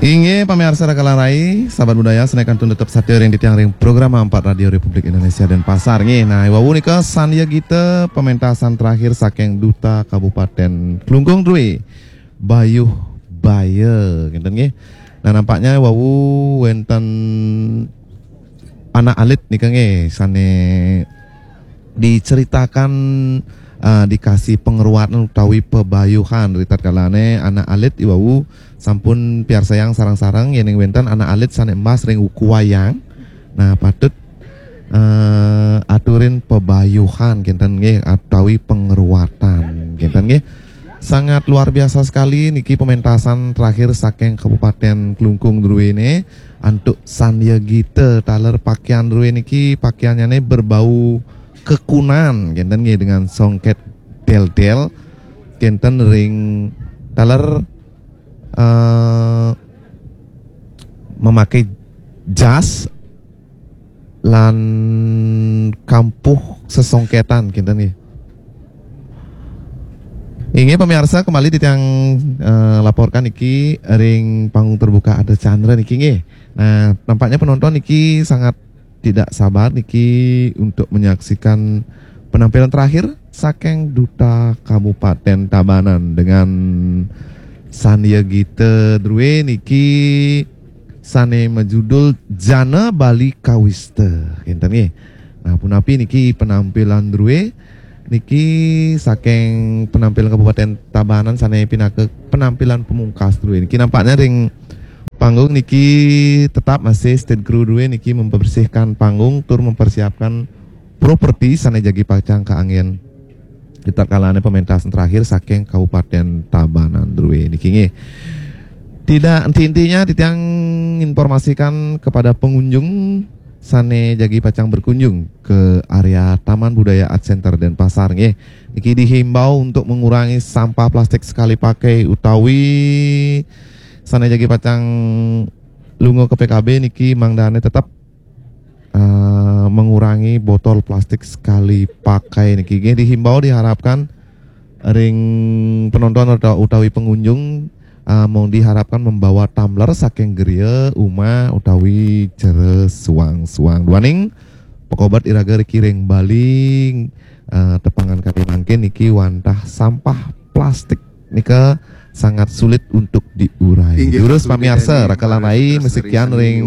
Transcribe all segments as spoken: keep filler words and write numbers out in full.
Inggih pamiarsa Raka lan Rai, sahabat budaya, sané kantun tetep satia ring titiang ring program empat Radio Republik Indonesia Denpasar. Nggih, nah, wau nika Sandya Gita pementasan terakhir saking Duta Kabupaten Klungkung Drue, Bayuh Baya, ngénten nggih. Nah, nampaknya wau wénten anak alit nika nggih sané diceritakan, eh, dikasih pengeruatan utawi pebayuhan. Ritatkalané anak alit iwau sampun piarsayang sareng-sareng yéning wénten anak alit sané embas ring wuku wayang. Nah, patut, eh, aturin pebayuhan kinten nggih utawi pengeruatan kinten nggih. Sangat luar biasa sekali niki pementasan terakhir saking Kabupaten Klungkung druene antuk Sandya Gita taler pakaian druene niki pakaiannya berbau kekunan kinten nggih dengan songket del-del kinten ring taler, eh, memakai jas lan kampuh sesongketan kinten nggih. Inggih pemirsa, kembali titiang, eh, laporkan niki ring panggung terbuka Ada Chandra niki nggih. Nah, nampaknya penonton niki sangat tidak sabar niki untuk menyaksikan penampilan terakhir saking Duta Kabupaten Tabanan dengan Sandya Gita drue niki sane majudul Jana Bali Kawista. Kinten nggih. Nah, punapi niki penampilan drue niki saking penampilan Kabupaten Tabanan sane pinaka penampilan pemungkas drue niki nampaknya ring panggung niki tetap masih stage crew drue niki membersihkan panggung tur mempersiapkan properti sane jagi pacang kaanggen. Kita kalane pementasan terakhir saking Kabupaten Tabanan drue niki nggih. Tidak intinya titiang informasikan kepada pengunjung sane jagi pacang berkunjung ke area Taman Budaya Art Center Denpasar nggih. Niki dihimbau untuk mengurangi sampah plastik sekali pakai utawi sane jagi pacang lunga ke P K B niki mangdane tetap, eh, mengurangi botol plastik sekali pakai niki nggih dihimbau diharapkan ring penonton atau utawi pengunjung, eh, mau diharapkan membawa tumbler saking geria uma utawi jere suang-suang duaning pekobat iraga riki ring Bali, eh, tepangan kali mangkin niki wantah sampah plastik nika sangat sulit untuk diurai. Inggih, durus pamiarsa rakalanai mesikian ring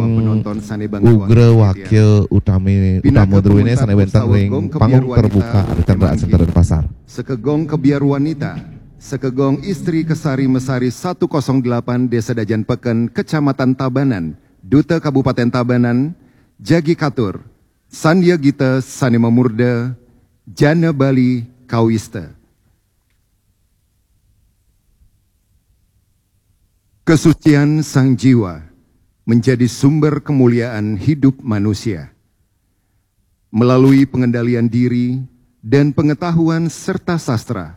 Ugra Wakil Utami Utama Druwine sane wenten ring panggung terbuka Archandra Center Pasar. Sekegong kebiar wanita, sekegong istri kesari mesari satu kosong delapan Desa Dajan Peken, Kecamatan Tabanan, Duta Kabupaten Tabanan, jagi katur, Sandya Gita sane mamurda, Jana Bali Kawista. Kesucian sang jiwa menjadi sumber kemuliaan hidup manusia. Melalui pengendalian diri dan pengetahuan serta sastra,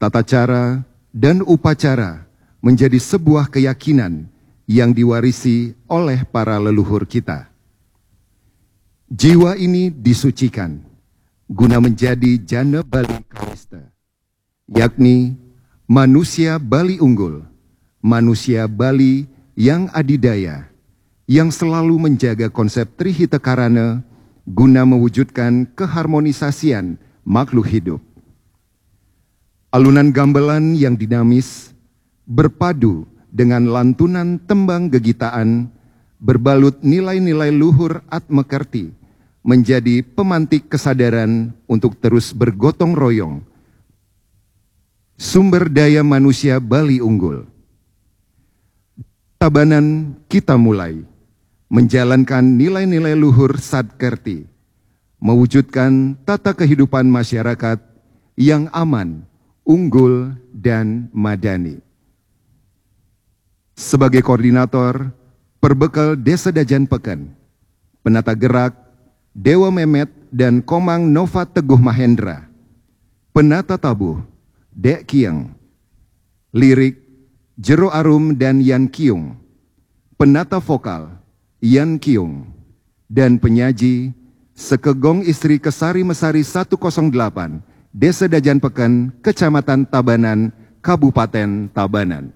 tata cara dan upacara menjadi sebuah keyakinan yang diwarisi oleh para leluhur kita. Jiwa ini disucikan guna menjadi jana Bali Kawista, yakni manusia Bali unggul, manusia Bali yang adidaya, yang selalu menjaga konsep Trihita Karana guna mewujudkan keharmonisasian makhluk hidup. Alunan gamelan yang dinamis berpadu dengan lantunan tembang gegitaan berbalut nilai-nilai luhur Atma Kerti menjadi pemantik kesadaran untuk terus bergotong royong. Sumber daya manusia Bali unggul. Tabanan kita mulai menjalankan nilai-nilai luhur Sat Kerti, mewujudkan tata kehidupan masyarakat yang aman, unggul, dan madani. Sebagai koordinator, perbekal Desa Dajan Peken, penata gerak, Dewa Memet dan Komang Nova Teguh Mahendra, penata tabuh, Dek Kieng, lirik, Jero Arum dan Yan Kiung, penata vokal, Yan Kiung, dan penyaji, Sekegong Istri Kesari Mesari satu kosong delapan, Desa Dajan Peken, Kecamatan Tabanan, Kabupaten Tabanan.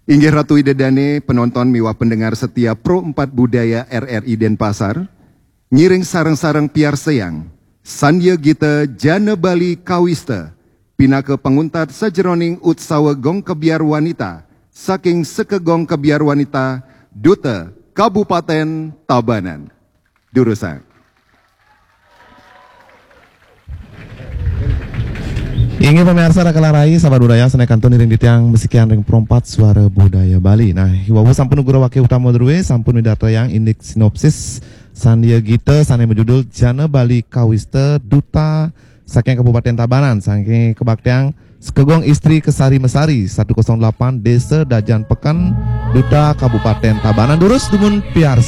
Inggih Ratu Ida Dane, penonton miwah pendengar setia Pro empat Budaya R R I Denpasar, ngiring sareng-sareng piarsayang Sandya Gita Jana Bali Kawista pinaka panguntat sajeroning utsawa Gong Kebyar Wanita saking Sekegong Kebyar Wanita Duta Kabupaten Tabanan. Durusang. Inggih pamiarsa, raka rai, sahabat budaya, sane kantun iring titiang masikian ring Pro empat Suara Budaya Bali. Nah, iwau sampun nugraha wake utama druwe, sampun midartayang indik sinopsis Sandya Gita sane majudul Jana Bali Kawista Duta saking Kabupaten Tabanan, saking Kebaktian Sekegong Istri Kesari Mesari satu kosong delapan Desa Dajan Peken, Duta Kabupaten Tabanan. Durus dumun piarsayang.